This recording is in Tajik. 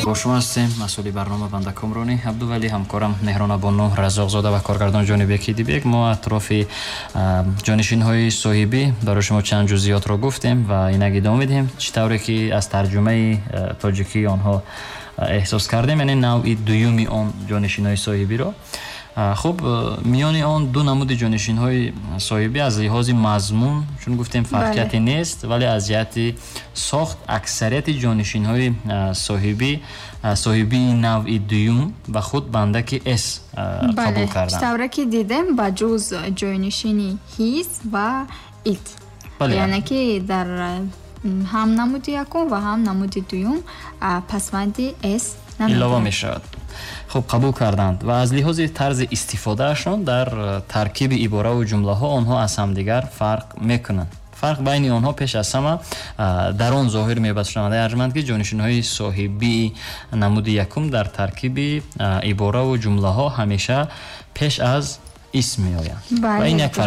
Бо шумо ҳастем, масъули барнома банда Комрони Абдувалӣ, ҳамкорам Меҳронабону Разоқзода ва коргардон Ҷонибеки Дибек. Мо атрофи ҷонишинҳои соҳибӣ барои шумо чанд ҷузъиётро гуфтем ва инак идома медиҳем. Чӣ тавре ки аз тарҷумаи тоҷикии онҳо эҳсос кардем, яъне навъи дуюми он ҷонишинҳои соҳибиро. Хуб, миёни он ду намуди ҷонишинҳои соҳибӣ аз лиҳози мазмун, чун гуфтем, фарқияте нест, вале аз ҷиҳати сохт аксарияти ҷонишинҳои соҳибии навъи дуюм ба худ бандаки с қабул карданд. Тавре ки дидем, ба ҷуз ҷойнишини his ва it, яъне ки дар ҳам намуди якум ва ҳам намуди дуюм пасванди с илова мешавад. Хуб, қабул карданд ва аз лиҳози тарзи истифодаашон дар таркиби ибораву ҷумлаҳо онҳо аз ҳамдигар фарқ мекунанд. Фарқ байни онҳо пеш аз ҳама дар он зоҳир меёбад, шунавандаи арҷманд, ки ҷонишинҳои соҳибии намуди якум дар таркиби ибораву ҷумлаҳо ҳамеша пеш аз исм меоянд ва ин як фарқ.